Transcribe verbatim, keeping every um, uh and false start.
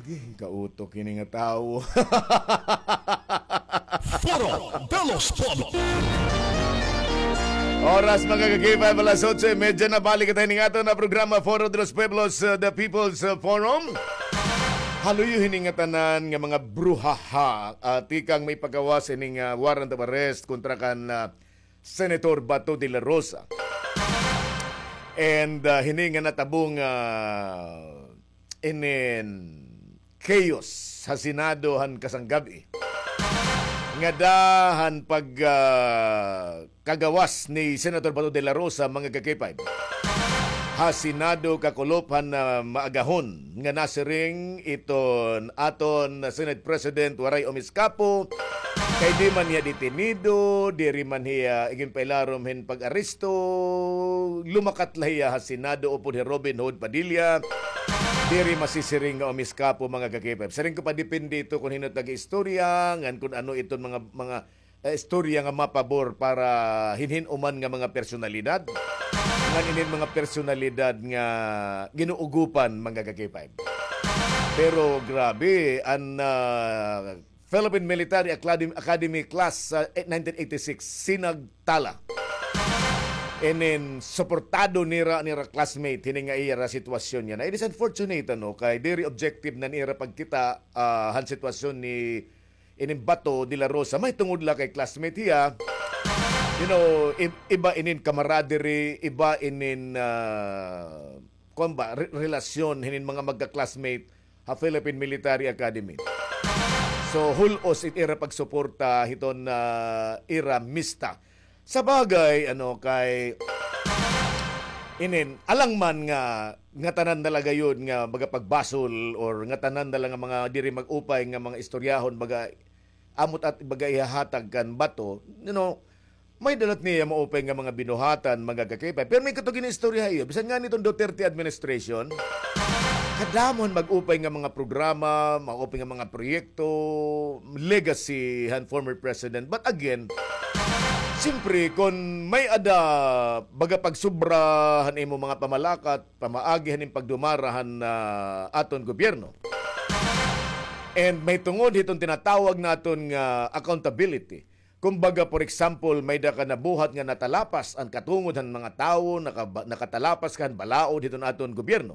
Agi, kautok ini nga tawo. Foro de los Pueblos. Oras, mga ka-K five, alas otso y media na. Balik kita hini nga aton nga programa, Foro de los Pueblos, uh, the People's, uh, Forum. Haluyo hini nga tanan nga mga bruhaha, uh, tikang maipagawas hini nga, uh, warrant of arrest kontra kan, uh, Senator Bato de la Rosa. And, uh, hini nga natabo nga, uh, inin chaos ha Senado han kasanggab-i. Ngada han pag, ah, kagawas ni Senator Bato de la Rosa, mga ka-K five. Ha Senado kakulop han, ah, maagahon nga nasiring iton aton Senate President Waray Omiscapo, kay di man hiya detenido, diri man hiya iginpailarom hin pag-aresto, lumakat la hiya ha Senado upod hi Robin Hood Padilla. Diri masisiring nga Omiscapo, mga ka-K five. Siring ko pa, depende ito kon hin-o it nag-istorya, ngan kon ano iton mga, mga, eh, istorya nga mapabor para hin hin-o man nga mga personalidad. Ngan inin mga personalidad nga ginuugupan, mga ka-K five. Pero grabe, an, ah, Philippine Military Academy, Academy class sa, eh, nineteen eighty-six, sinagtala. And then, suportado nira, nira classmate, hini nga ira sitwasyon niya. Na, it is unfortunate, ano, kay diri objective na nira pagkita, ah, han sitwasyon ni inin Bato de la Rosa. Mahitungod la kay classmate hiya. You know, i-, iba inin camaraderie, iba inin, ah, kuwan ba, re-, relasyon, hinin mga magka-classmate ha Philippine Military Academy. So, hul-os it ira pagsuporta hiton, ah, ira mista. Sa bagay, ano, kay inin, alang man nga, nga tanan na la gayod nga baga pagbasol or nga tanan na la nga mga diri mag-upay nga mga istoryahon, baga, amot at baga ihahatag kan Bato, you know, may dalat niya maupay nga mga binuhatan, mga ka-K five. Pero may katong ginaistorya ha iyo. Bisan nga niton Duterte administration, kadamo han mag-upay nga mga programa, maupay nga mga proyekto, legacy han former president. But again, siyempre, kon may-ada baga pagsubra han imo mga pamalakat, pamaagi han im pagdumara han, ah, aton gobyerno. And mahitungod hiton tinatawag naton nga accountability. Kumbaga, for example, may-ada ka nabuhat nga natalapas an katungod han mga tawo, nakaba-, nakatalapas ka han balaod hiton aton gobyerno.